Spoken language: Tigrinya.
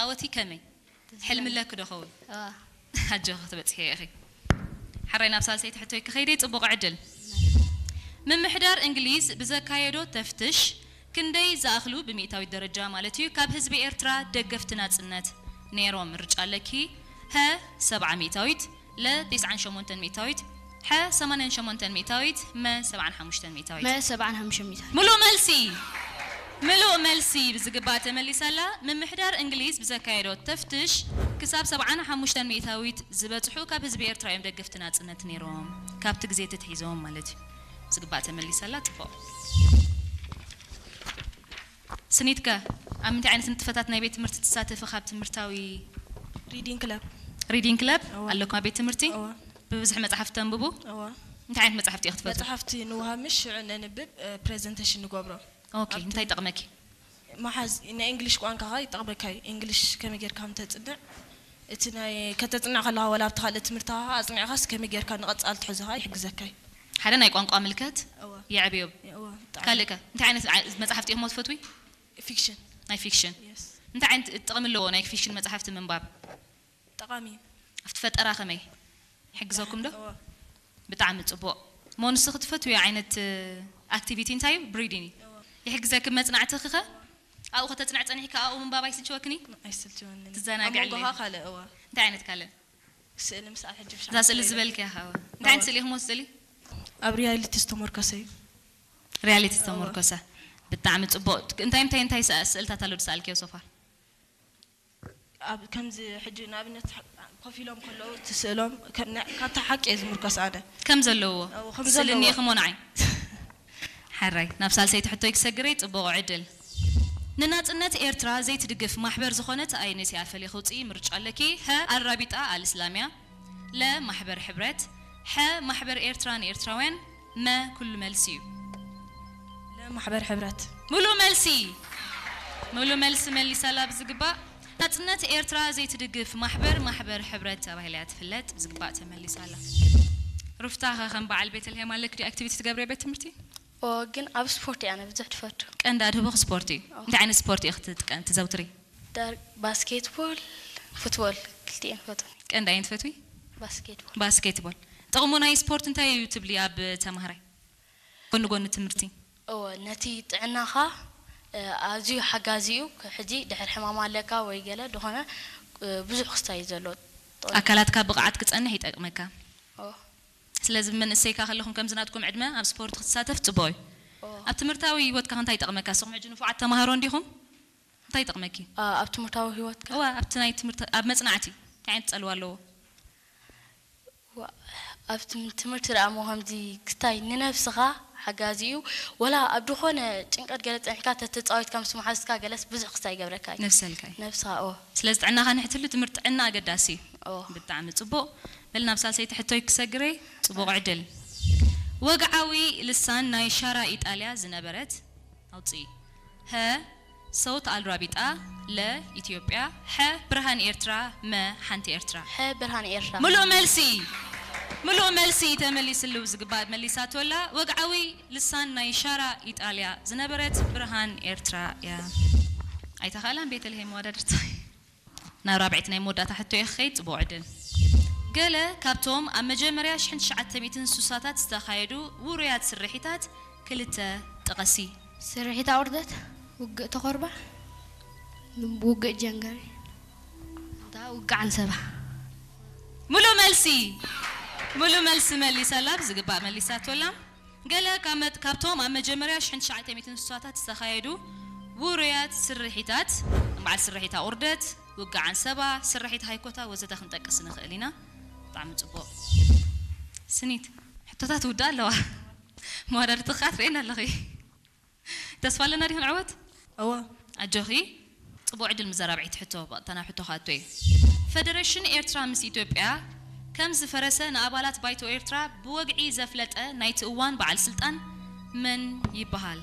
ኦቲ ከመይ? ሕልሚ ኣለኪ ዶ ኸውን? ኣጆኺ ክትበጽሒ ኢኺ። ሓራይ ናብ ሳልሰይቲ ሕቶይ ክኸይደ ጽቡቕ ዕድል። ምምሕዳር እንግሊዝ ብዘካየዶ ተፍትሽ ክንደይ ዝኣኽሉ ብሚእታዊት ደረጃ ማለት እዩ ካብ ህዝቢ ኤርትራ ደገፍቲ ናጽነት ነይሮም? ምርጫ ኣለኪ። ሀ ሰብዓ ሚእታዊት፣ ለ ቴስዓን ሸሞንተን ሚእታዊት፣ ሐ ሰማንያን ሸሞንተን ሚእታዊት፣ መ ሰብዓን ሓሙሽተን ሚእታዊት። መ ሰብዓን ሓሙሽተን ሚእታዊት። ምሉእ መልሲ፣ ምሉእ መልሲ ብዝግባእ ተመሊሳላ። ምምሕዳር እንግሊዝ ብዘካየዶ ተፍትሽ ክሳብ ሰብዓን ሓሙሽተን ሚእታዊት ዝበጽሑ ካብ ህዝቢ ኤርትራ እዮም ደገፍቲ ናጽነት ነይሮም። ካብቲ ግዜ ተትሒዞም ማለት እዩ። ብዝግባእ ተመሊሳላ። ጽቡቕ። ስኒትከ ኣብ ምንታይ ዓይነት ንጥፈታት ናይ ቤት ትምህርቲ ትሳተፊ? ካብ ትምህርታዊ ሪዲንግ ክለብ። ሪዲንግ ክለብ እዋ። ኣለኩም ኣብ ቤት ትምህርቲ? እዋ። ብብዝሒ መጽሓፍቲ ተንብቡ? እዋ። እንታይ ዓይነት መጽሓፍቲ ኢኺ ትፈትዊ? መጽሓፍቲ ንውሃብ ምሽ ሽዑ ነንብብ ፕሬዘንቴሽን ንገብሮ። ኦኬ፣ እንታይ ይጠቕመኪ? መሓዝ ናይ እንግሊሽ ቋንቋኻ ይጠቕመካ እዩ። እንግሊሽ ከመይ ጌርካ ምተጽንዕ እቲ ናይ ከተጽንዕ ከለኻ ወላ ኣብቲ ካልእ ትምህርትኻ ኣጽኒዕካስ ከመይ ጌርካ ንቐጻል ትሕዞኻ ይሕግዘካ እዩ። ሓደ ናይ ቋንቋ ምልከት እዋ። የዕብዮ። እዋ፣ ብጣዕሚ። ካልእ ከ እንታይ ዓይነት ዓ- መጽሓፍቲ ኢኹም ትፈትዊ? ፊክሽን። ናይ ፊክሽን። የስ። እንታይ ዓይነት ጥቕሚ ኣለዎ ናይ ፊክሽን መጽሓፍቲ ምንባብ? ጠቓሚ እዩ። ኣብቲ ፈጠራ ከመይ ይሕግዘኩም ዶ? እዋ። ብጣዕሚ ጽቡቕ። እሞ ንስኺ ትፈትውዮ ዓይነት ኣክቲቪቲ እንታይ እዩ? ብሪዲንግ እዩ። እዋ። ይሕግዘኪ መጽናዕትኺ ኸ? ኣብኡ ከተጽንዕ ጸኒሕካ ኣብኡ ምንባብ ኣይስልችወክን እዩ? ኣይስልችወንን። ትዘናግዕሉ ኣብ መንጎኻ እዩ። ካልእ እዋ። እንታይ ዓይነት ካልእ? ስእሊ ምስኣል ሕጂ እዛ ስእሊ ዝበልክያ ኸ? እንታይ ዓይነት ስእሊ ኢኹም ወስደሊ? ኣብ ሪያሊቲ ዝተመርኮሰ እዩ። ሪያሊቲ እዋ። ዝተመርኮሰ። ብጣዕሚ ጽቡቕ። እንታይ እንታይ እንታይ ስእልታት ኣሎ ዝሰኣልክዮ ሶፋር? ኣብ ከምዚ ሕጂ ንኣብነት ኮፍ ኢሎም ከለዉ እቲ ስእሎም ከም ናይ- ካብታ ሓቂ እየ ዝምርኮስ ኣነ። ከም ዘለዎ እዎ፣ ከም ስእሊ ዘለዎ። እኒኤ ክሞ ንዓይ ሓራይ ናብ ሳልሰይቲ ሕቶይ ክሰግረይ ጽቡቕ ዕድል። ንናጽነት ኤርትራ ዘይትድግፍ ማሕበር ዝኾነት ኣየነይቲ እያ ፈልየ ክውጽኢ ምርጫ ኣለኪ። ሀ ኣልራቢጣ ኣልእስላምያ፣ ለ ማሕበር ሕብረት፣ ሐ ማሕበር ኤርትራ ንኤርትራውያን፣ መ ኩሉ መልሲ እዩ። ለማሕበር ሕብረት። ሙሉእ መልሲ፣ ሙሉእ መልሲ መሊሳላ ብዝግባእ። ናጽነት ኤርትራ ዘይትድግፍ ማሕበር ማሕበር ሕብረት ተባሂላ እያ ትፍለጥ። ብዝግባእ ተመሊሳላ። ሩፍታ ኸ ከም በዓል ቤተልሔም ኣለክ ዲ ኣክቲቪቲ ትገብሪ ቤት ትምህርቲ? ኦ ግን ኣብ ስፖርት እያ ብዙሕ ትፈቱ። ቀንዲ ኣድህቦ ስፖርት እዩ። እንታይ ዓይነት ስፖርት እዩ ክትጥቀም ትዘውትሪ? ዳር ባስኬትቦል፣ ፉትቦል ክልቲኤን ፈቱ። ቀንዲ ኣየን ትፈትዊ? ባስኬትቦል። ባስኬትቦል። ጥቕሙ ናይ ስፖርት እንታይ እዩ ትብሊ ኣብ ተማሃራይ ጎኒ ጎኒ ትምህርቲ? እወ ነቲ ጥዕናኻ ኣዝዩ ሓጋዚ እዩ። ሕጂ ድሕር ሕማም ኣለካ ወይ ገለ ዝኾነ ብዙሕ ክስታይ እዩ ዘሎ። ኣካላትካ ብቕዓት ክጸንሕ ይጠቅመካ። ኦ ስለዚ መንእሰይካ ከለኹም ከምዚ ናትኩም ዕድመ ኣብ ስፖርት ክትሳተፍ ጽቡቕ እዩ። ኦ ኣብ ትምህርታዊ ህይወትካ እንታይ ይጠቕመካ? ንስኹም ሕጂ ንፉዓት ተማሃሮ እንዲኹም? እንታይ ይጠቕመኪ? ኣ- ኣብ ትምህርታዊ ህይወትካ እዋ ኣብቲ ናይ ትምህርቲ ኣብ መጽናዕቲ እንታይ ዓይነት ጸልዋ ኣለዎ? ዋ- ኣብ ትም- ትምህርቲ ደኣ እሞ ከምዚ ክስታይ ንነብስኻ ሓጋዚ እዩ። ወላ ኣብ ዝኾነ ጭንቀት ገለ ጸኒሕካ ተተጻዊትካ ምስ መሓዝካ ገለስ ብዙሕ ክስታይ ይገብረካ እዩ። ነብሰልካ እዩ። ነብስኻ ኦ ስለዚ ጥዕናኻ ንሕትሉ ትምህርቲ ጥዕና ኣገዳሲ እዩ። ኦ ብጣዕሚ ጽቡቕ። በል ናብ ሳልሰይቲ ሕቶይ ክሰግረይ ጽቡቕ ዕድል። ወግዓዊ ልሳን ናይ ሻራ ኢጣልያ ዝነበረት ኣውጽኢ። ሀ ሰውት ኣልራቢጣ፣ ለ ኢትዮጵያ፣ ሐ ብርሃን ኤርትራ፣ መ ሓንቲ ኤርትራ። ሐ ብርሃን ኤርትራ። ምሉእ መልሲ፣ ምሉእ መልሲ ተመሊስሉ ዝግባእ መሊሳቶ ኣላ። ወግዓዊ ልሳን ናይ ሻራ ኢጣልያ ዝነበረት ብርሃን ኤርትራ እያ። ኣይተኻእላን ቤተልሄም መወዳድርቲ። ናብ ራብዐይቲ ናይ መወዳእታ ሕቶ እየ ክኸይድ፣ ጽቡቕ ዕድል። ገለ ካብቶም ኣብ መጀመርያ ሽሕን ትሽዓተ ሚእትን ስሳታት ዝተኻየዱ ውሩያት ስርሒታት ክልተ ጥቐሲ። ስርሒት ኣውርደት፣ ውግእ ተኾርባ፣ ውግእ ጀንገሪ፣ እንታ ውግእ ዓንሰባ። ሙሉእ መልሲ፣ ሙሉእ መልሲ መሊሳላ፣ ብዝግባእ መሊሳቶላ። ገለ ካብ መ- ካብቶም ኣብ መጀመርያ ሽሕን ትሽዓተ ሚእትን ስሳታት ዝተኻየዱ ውሩያት ስርሒታት፣ በዓል ስርሒት ኣቑርደት፣ ውግእ ዓንሰባ፣ ስርሒት ሃይኮታ ወዘተ ክንጠቅስ ንኽእል ኢና። ብጣዕሚ ጽቡቕ። ስኒት፣ ሕቶታት ውዳ ኣለዋ። መወዳድርትኻ ትርእየን ኣለኺ። ተስፋ ኣለና ዲኹን ዕወት? እዋ ኣጆኺ። ጽቡቕ ዕድል ምስ ራብዐይቲ ሕቶ ብቐጥታ ናብ ሕቶ ክኣቱ እየ። ፈደረሽን ኤርትራ ምስ ኢትዮጵያ ከም ዝፈረሰ ንኣባላት ባይቶ ኤርትራ ብወግዒ ዘፍለጠ ናይቲ እዋን በዓል ስልጣን መን ይበሃል?